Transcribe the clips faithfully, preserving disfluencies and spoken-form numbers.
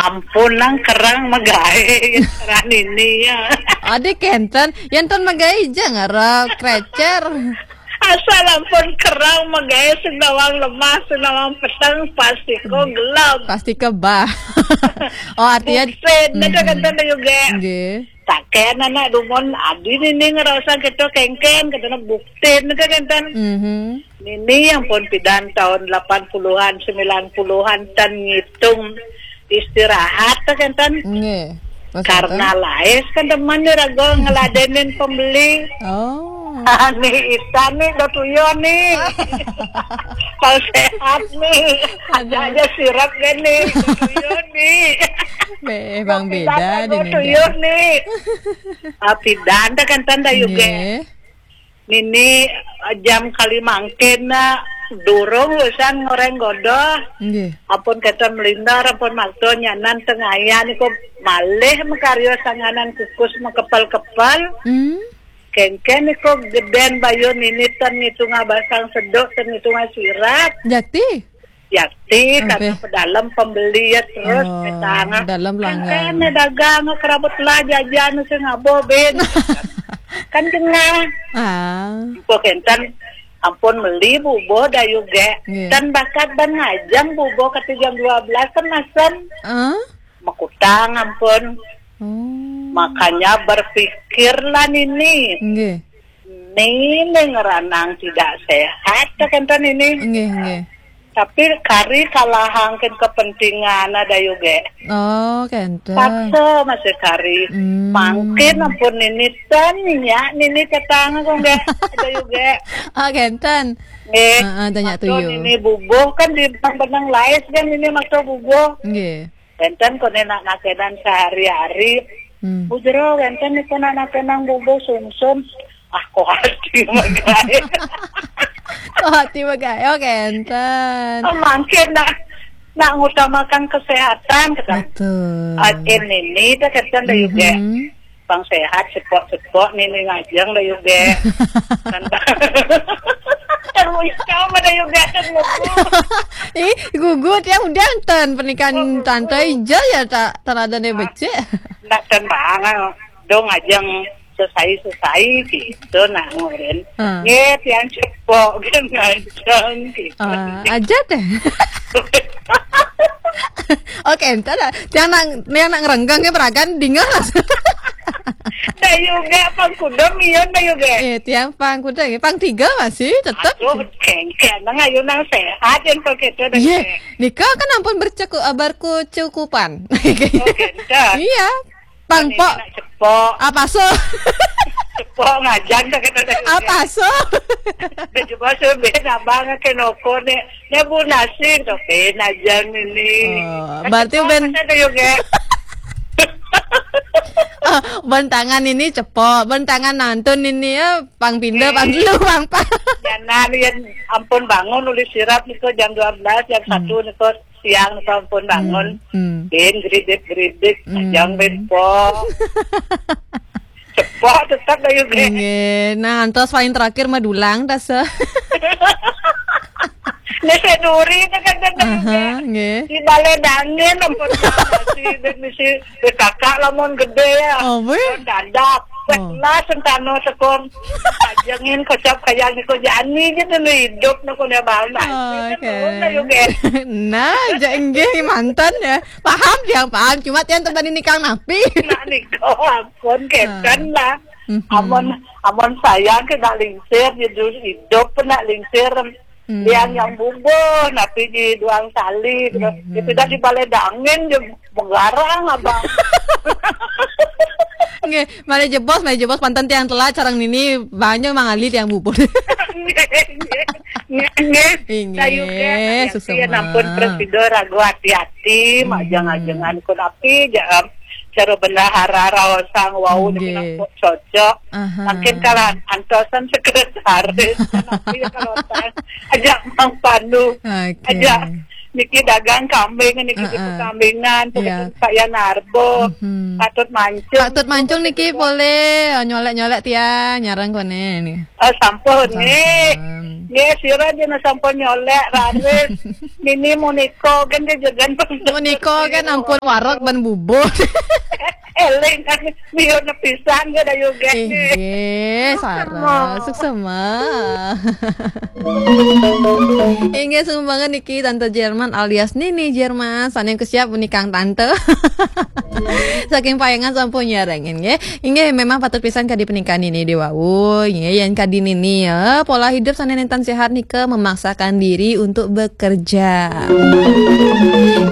Ampun, nang kerang magaé, ya, kerang ini, ya. Adi kenten, yang ten magaé aja ngarep krecer. Asal ampun kerang magaé, sing nawang lemah, sing nawang peteng, pasti ko gelem. Pasti kebah. Oh, artinya Buktin, ada kan ten juga. Nggih. Taken anak dumun, adi nini ngerasa kita kengken, kita buktin, ada kan ten. Mhm. Nini yang pun pidan tahun delapan puluhan, sembilan puluhan, ten ngitung istirahat, kan ten. Nggih. Pas Karena ten. Laes, kan teman ni raga ngeladenin pembeli. Oh. Ani ita ni, dah tuyo ni. Kalau sehat ni. Ada aja sirap kan ni, dah tuyo ni. Be, bang beda. Dah tuyo ni. Ah, pidan dah kan ten dah juga. Nggih. Nini, eh, jam kali mangkin na durung usan ngoreng godoh. Nggih. Ampun keten melindar, ampun makto nyanan tengayan iko malih makaryo sanganan kukus makepel-kepel. Hmm. Kengken iko geden bayu nini ten ngitunga basang seduk, ten ngitunga sirap. Jati? Yakti, karena pedalem pembeli ya terus. Oh, petang. Pedalem pelanggan. Kan dagang kerabut lah jajan sing abo ben. Kan kena. Ah. Kok enten ampun meli bubuh dayu ge. Nggih. Kan bakat ban ngajeng bubuh kata jam dua belas kan masem. Ah? Makutang ampun. Oh. Makanya berpikirlah nini. Nggih. Nini ngeranang tidak sehat, tak enten ini. Nggih, nggih. Tapi kari kalahangkin kepentingan ada yuge. Oh, kenten. Paksa masih kari. Hmm. Mangkin ampun nini ten, ya, nini cetang kok nggak ada yuge. Oh, kenten. Nggih. Heeh, tanya tuh, yo. Nini bubuh kan di benang-benang lais kan nini maksa bubuh. Nggih. Enten kone nak nakenan sehari-hari. Hmm. Bujero, enten niko nak nakenang bubuh sumsum. Ah, kok hati magae. Kok hati magae, oh, kenten. Oh, mangkin nak, nak ngutamakan kesehatan, kata. Betul. Ah, ini nih, dah kenten dah juga. Mhm. Pang sehat, sepok-sepok, nini ngajeng dah juga. Kan, kan, wis kau mah dah juga, kan, ngugu. Ih, gugu tiang udah enten pernikahan. Oh, gugu. Tante Ijal ya, tak, tak ada nih becek. Nak tenang, dong ajeng sesai-sesai gitu, nak ngurin. Hmm. Nggih, tiang cepok, kan, ngajeng gitu. Ah, aja deh. Oke, entar lah. Tiang nak, tiang nak ngerenggang ya, peragan, dingin lah. Dah juga, pang kuda, mion dah juga. Eh, tiang pang kuda, ya. Pang tiga masih tetap. Aduh, kengken, nang ayu nang sehat, yang kok gitu, dah. Iya, juga. Nika kan ampun berceku-, eh, berkecukupan. Oh, gitu. Iya. Pang, ini pok. Nak cepok. Apa so? Cepok ngajang, dah kata dah. Apa so? Dah coba so, ben abang ke noko nih. Nyebu nasi, tuh, ben aja ini. Oh, kan berarti cepok ben. Kata dah juga. Oh, ben tangan ini cepok, ben tangan nantun ini ya, pang pindah, pang dulu, pang, pang. Ya, nah, ya, ampun bangun, uli sirap niko jam dua belas, jam satu niko siang niko ampun bangun. Hmm, hmm. Ben geridik-geridik, hmm. Ajang ben po. Cepok tetap dah juga. Nggih. Nah, antos paling terakhir mah dulang, tase. Ini saya duri, kan, kan, kan, aha, juga. Nggih. Di balai dangin, ampun, nasi, ben misi, ben kakak lamun gede ya. Oh, weh. Dadak. Oh. Lah, sentano tekong. Ajengin kocap kayang niko jani gitu, nu hidup, nu kunya bal, nah. Oh, gitu, oke. Nah, juga. Nah, ja-, nggih, mantan ya. Paham dia, paham. Cuma tiang tebani nikang napi. Nah, niko, ampun, keten lah. Mhm. Amun, amun sayang ke nak lingsir, jadi hidup pun nak lingsir. Hmm. Yang, yang bubuh, napi di duang sali, gitu. Hmm. Itu dah di balai dangin, je menggarang, abang. Nggih, mari jebos, mari jebos, panten tiang telat, sareng nini, banyak mangali tiang bubuh. Nggih, nggih. Nggih, nggih. Inggih, sayuke, hati-hati, susah ya, nampun mah. Prosedur, ragu hati-hati, hmm. Majang-ajangan ku napi, ja-, cara bendahara raosang, wau, nggih. Niki nak cocok. Aha. Mungkin kalau antosan sekretaris, tapi kalau tas, ajak Mang Pandu, oke. Ajak Niki dagang kambing, niki di Heeh. Perkambingan, Iya. Kaya narbo, Mhm. Patut Mancung. Patut Mancung niki boleh nyolek-nyolek tiang, nyarang koné nih. Eh, sampun, nggih. Sampun. Nggih, sira jenengan sampun nyolek, raris. Nini Muniko kan dia jagan Muniko kan ampun warok ban bubur. Eling kan, biar nepisan, nggih, dayu, nggih. Inggih, sareng. Suksema. Inggih, sumbangan niki Tante Jerman alias Nini Jerman, sané kesiap menikang tante. Saking Payangan sampun nyarengin, nggih. Inggih, memang patut pisan kadi pernikahan Nini di wau, nggih, yén kadi Nini ya, pola hidup sané nénten sehat nika memaksakan diri untuk bekerja.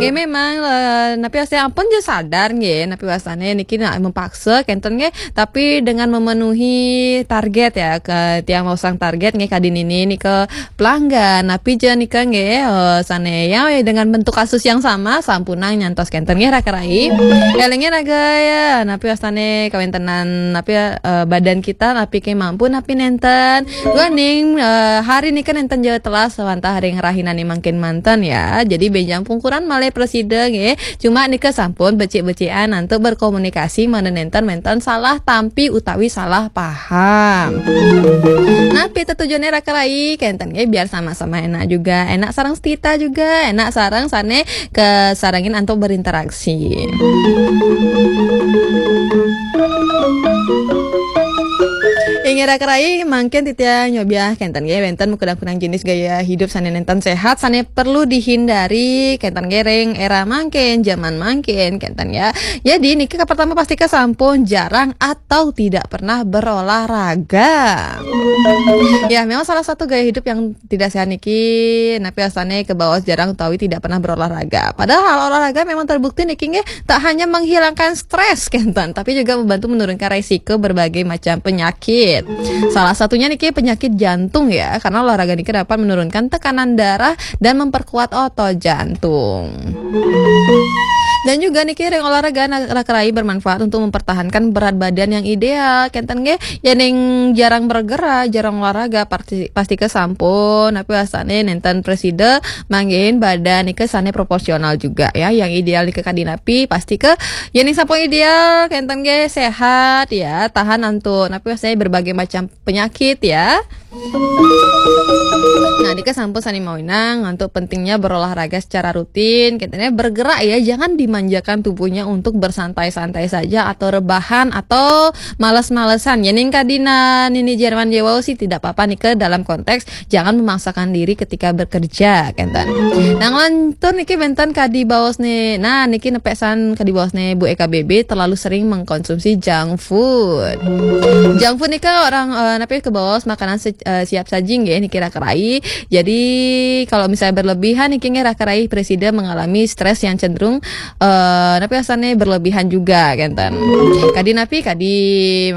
Nggih, memang, eh, napi wastané ampun ja sadar, nggih, napi wastané niki nak mempaksa, kénten, nggih, tapi dengan memenuhi target ya, ke tiang masang target, nggih, kadi Nini nika pelanggan, napi ja nika, nggih, eh, sané ya, dengan bentuk kasus yang sama, sampunang nyantos kénten, nggih, raka rai. Elingin raga ya, napi wastané kawéntenan, napi, eh, badan kita, napi ké mampu, napi nénten. Duaning, eh, hari nika nénten ja telas wantah ring rahinané mangkin manten ya. Jadi bénjang pungkuran malih prasida, nggih. Cuma nika sampun becik-becikan antuk berkomunikasi mangda nénten-nénten salah tampi utawi salah paham. Napi tetujuné raka rai, kénten nggih, biar sama-sama enak juga, enak sareng setita juga, enak sareng sané kasarengin antuk berinteraksi. Inggih raka rai, mangkin titiang nyobiah kénten nggih, wénten makudang-kudang jenis gaya hidup sané nénten sehat, sané perlu dihindari, kénten nggih, ring éra mangkin, zaman mangkin, kénten ya. Jadi niki kapertama pasti kasampun jarang atau tidak pernah berolahraga. Ya, memang salah satu gaya hidup yang tidak sehat niki, napi wastané kabaos jarang utawi tidak pernah berolahraga. Padahal olahraga memang terbukti niki nggih tak hanya menghilangkan stres kénten, tapi juga membantu menurunkan resiko berbagai macam penyakit. Salah satunya niki penyakit jantung ya, karena olahraga niki dapat menurunkan tekanan darah dan memperkuat otot jantung. Dan juga niki ring olahraga na-, raka rai bermanfaat untuk mempertahankan berat badan yang ideal. Kénten nggih, yén ning jarang bergerak, jarang olahraga, pasti, pasti kasampun, napi wastané nénten prasida manggihin badan nika sané proporsional juga ya. Yang ideal nika kadi napi, pasti ké yén ning sampun ideal, kénten nggih sehat ya, tahan antuk, napi wastané berbagai macam penyakit ya. Nah, nika sampun sané mawinan antuk pentingnya berolahraga secara rutin, katanya bergerak ya, jangan dimanjakan tubuhnya untuk bersantai-santai saja atau rebahan atau males-malesan. Yén ning kadi Nini Jerman ja wau sih tidak apa-apa nika dalam konteks jangan memaksakan diri ketika bekerja, kénten. Nah, nglantur niki wénten kadi baosné. Nah, niki nepek san kadi baosné Bu E K B B terlalu sering mengkonsumsi junk food. Junk food nika orang, eh, napi kabaos makanan se-, eh, siap saji nggih niki raka rai. Jadi kalau misalnya berlebihan niki nggih raka rai prasida mengalami stres yang cenderung, eh, napi wastané berlebihan juga kénten. Kadi napi, kadi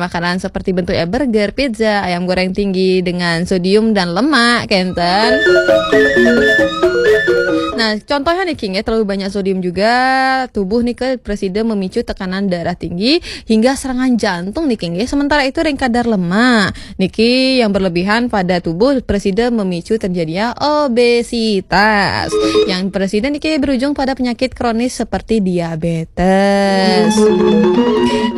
makanan seperti bentuknya burger, pizza, ayam goreng tinggi dengan sodium dan lemak kénten. Nah, contohnya niki nggih terlalu banyak sodium juga, tubuh nika prasida memicu tekanan darah tinggi hingga serangan jantung niki nggih. Sementara itu ring kadar lemak niki yang berlebihan pada tubuh prasida memicu terjadinya obesitas. Yang prasida niki berujung pada penyakit kronis seperti diabetes.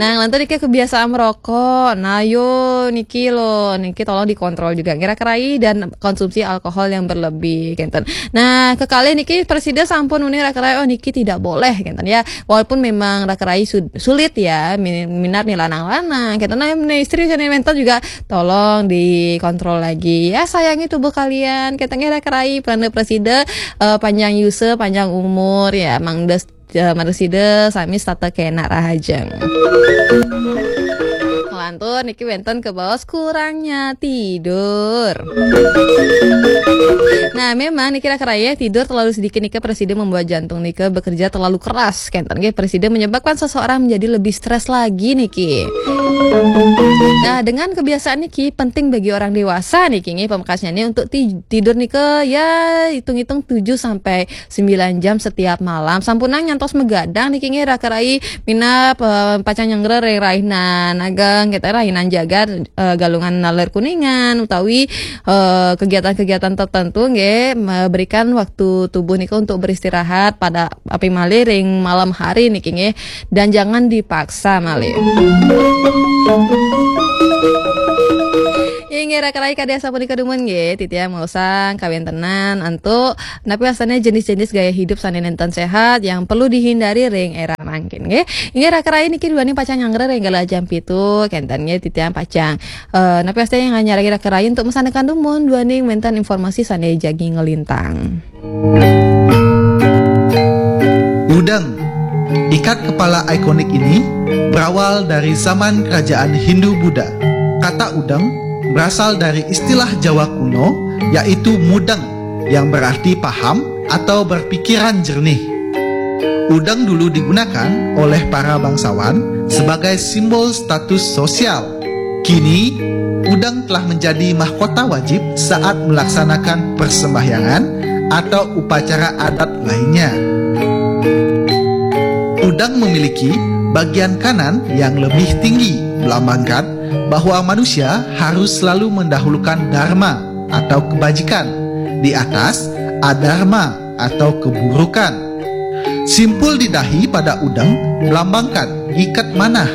Nah, nglantur niki kebiasaan merokok. Nah, yo niki lo, niki tolong dikontrol juga. Nggih raka rai dan konsumsi alkohol yang berlebih, kénten. Nah, kekalih niki prasida sampun uning raka rai, oh niki tidak boleh, kénten ya. Walaupun memang raka rai su-, sulit ya, min-, minat nih lanang-lanang, kénten. Nah, istri sané wénten juga tolong dikontrol lagi. Ya, sayangi tubuh kalian, kénten nggih raka rai, pranda prasida, eh, panjang yusa, panjang umur ya, mangda, eh, prasida sami setata kénak rahajeng. Nglantur niki wénten kabaos kurangnya tidur. Nah, memang niki raka rai, tidur terlalu sedikit nika prasida membuat jantung nika bekerja terlalu keras. Kénten nggih prasida menyebabkan seseorang menjadi lebih stres lagi niki. Nah, dengan kebiasaan niki penting bagi orang dewasa niki nggih pamekasnyané untuk ti-, tidur nika ya hitung-hitung tujuh sampai sembilan jam setiap malam. Sampunang nyantos magadang niki nggih raka rai, minab, eh, pacang nyanggra ring rahina ageng kita rahinan jaga, eh, galungan naler kuningan utawi, eh, kegiatan-kegiatan tertentu nggih, memberikan waktu tubuh nika untuk beristirahat pada api malih ring malam hari niki nggih, dan jangan dipaksa malih. Inggih raka rai kadi asapunika dumun nggih, titiang maosang kawéntenan antuk napi wastané jenis-jenis gaya hidup sané nénten séhat yang perlu dihindari ring éra mangkin nggih. Inggih raka rai niki duaning pacang nyanggra ring galah jam pitu kénten nggih, titiang pacang, eh, napi wastané nyarengin raka rai untuk masandekan dumun duaning wénten informasi sané jagi nglintang. Udeng. Ikat kepala ikonik ini berawal dari zaman kerajaan Hindu Buddha. Kata udeng berasal dari istilah Jawa kuno, yaitu mudeng, yang berarti paham atau berpikiran jernih. Udeng dulu digunakan oleh para bangsawan sebagai simbol status sosial. Kini, udeng telah menjadi mahkota wajib saat melaksanakan persembahyangan atau upacara adat lainnya. Udeng memiliki bagian kanan yang lebih tinggi, melambangkan bahwa manusia harus selalu mendahulukan dharma atau kebajikan di atas adharma atau keburukan. Simpul di dahi pada udeng melambangkan ikat manah,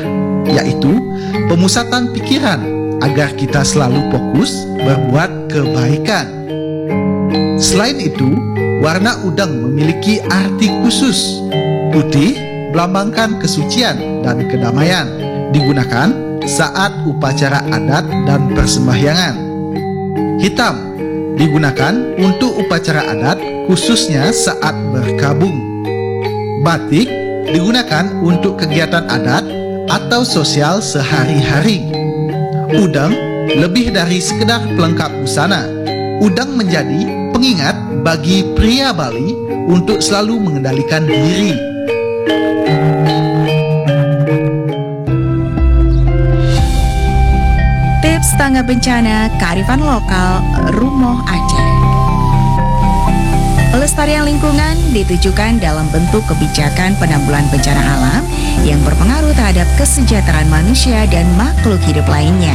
yaitu pemusatan pikiran agar kita selalu fokus berbuat kebaikan. Selain itu, warna udeng memiliki arti khusus. Putih melambangkan kesucian dan kedamaian, digunakan saat upacara adat dan persembahyangan. Hitam digunakan untuk upacara adat, khususnya saat berkabung. Batik digunakan untuk kegiatan adat atau sosial sehari-hari. Udeng lebih dari sekedar pelengkap busana. Udeng menjadi pengingat bagi pria Bali untuk selalu mengendalikan diri. Tips tanggap bencana kearifan lokal Rumoh Aceh. Pelestarian lingkungan ditujukan dalam bentuk kebijakan penanggulangan bencana alam yang berpengaruh terhadap kesejahteraan manusia dan makhluk hidup lainnya.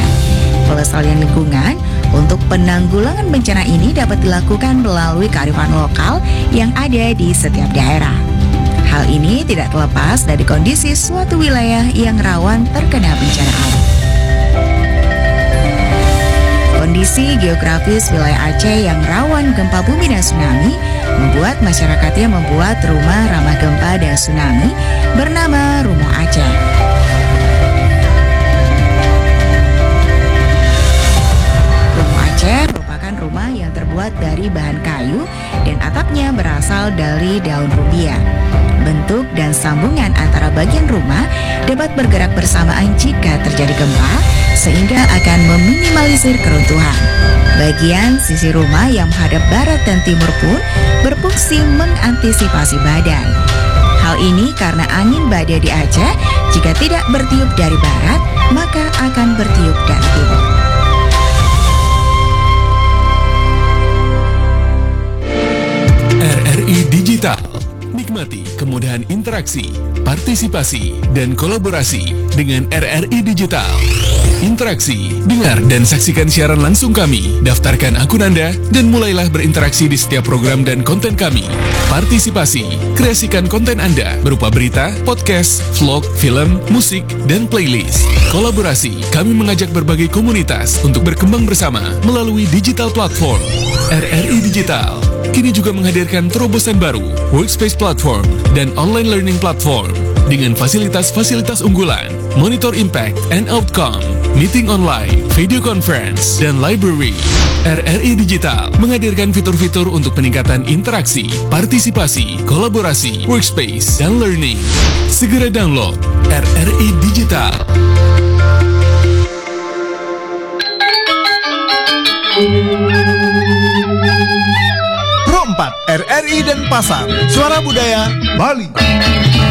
Pelestarian lingkungan untuk penanggulangan bencana ini dapat dilakukan melalui kearifan lokal yang ada di setiap daerah. Hal ini tidak terlepas dari kondisi suatu wilayah yang rawan terkena bencana alam. Kondisi geografis wilayah Aceh yang rawan gempa bumi dan tsunami membuat masyarakatnya membuat rumah ramah gempa dan tsunami bernama Rumoh Aceh. Rumoh Aceh merupakan rumah yang terbuat dari bahan kayu dan atapnya berasal dari daun rumbia. Bentuk dan sambungan antara bagian rumah dapat bergerak bersamaan jika terjadi gempa, sehingga akan meminimalisir keruntuhan. Bagian sisi rumah yang menghadap barat dan timur pun berfungsi mengantisipasi badai. Hal ini karena angin badai di Aceh, jika tidak bertiup dari barat, maka akan bertiup dari timur. R R I Digital. Nikmati kemudahan interaksi, partisipasi, dan kolaborasi dengan R R I Digital. Interaksi, dengar dan saksikan siaran langsung kami, daftarkan akun Anda, dan mulailah berinteraksi di setiap program dan konten kami. Partisipasi, kreasikan konten Anda berupa berita, podcast, vlog, film, musik, dan playlist. Kolaborasi, kami mengajak berbagai komunitas untuk berkembang bersama melalui digital platform. R R I Digital kini juga menghadirkan terobosan baru, Workspace Platform, dan Online Learning Platform dengan fasilitas-fasilitas unggulan, Monitor Impact and Outcome, Meeting Online, Video Conference, dan Library. R R I Digital menghadirkan fitur-fitur untuk peningkatan interaksi, partisipasi, kolaborasi, workspace, dan learning. Segera download R R I Digital. Pro empat, R R I Denpasar, Suara Budaya Bali.